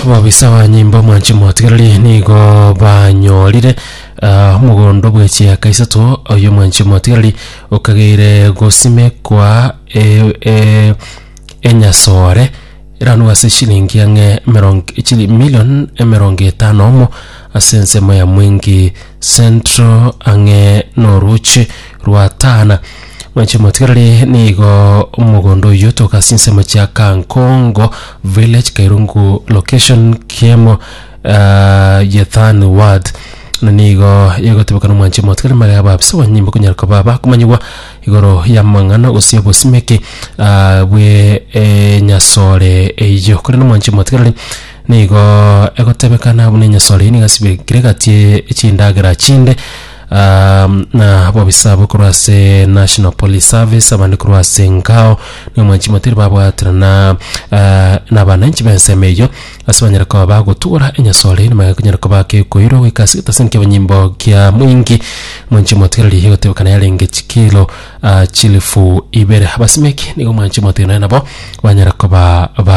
Ababisa ba nyimba omwanchi motigereri nigo banyorire ah, omogondo bwe chieka isato oyo omwanchi motigereri okageire gosimekwa e, e, enyasore eranwe ase chilingi ang'e emerongo chili million emerongo etano omo ase ensemo ya Mwingi Central ang'e noroche rwa Tana. Mwanche motigereri nigo omogondo oyio otoka ase ensemo chia Kankongo village Kairungu location kiemo uh, Yethan ward na nigo egotebekana omwanche motigereri magega ababisa abanyimbo konyara koba bakomanyigwa igoro y'amang'ana gose obosimeki uh, bwe enyasore eyio korende omwanche motigereri nigo egotebekana buna enyasore eyio nigo asibekire egati ye chindagera chinde na abobisa abwo korwa ase National Police Service abande korwa ase Ngao nigo mwanchi motiri babwaterana na abananchi b'ensemo eyio ase banyare koba bagotugora enyasore eyio nigo ekonyara koba kekoirwa goika ase egetaseni ki'abanyimbo kia Mwingi mwanchi motigereri egotebekana yarenge chikilo chilifu ibere abasimeki nigo mwanchi motigereri nabo banyara koba ba.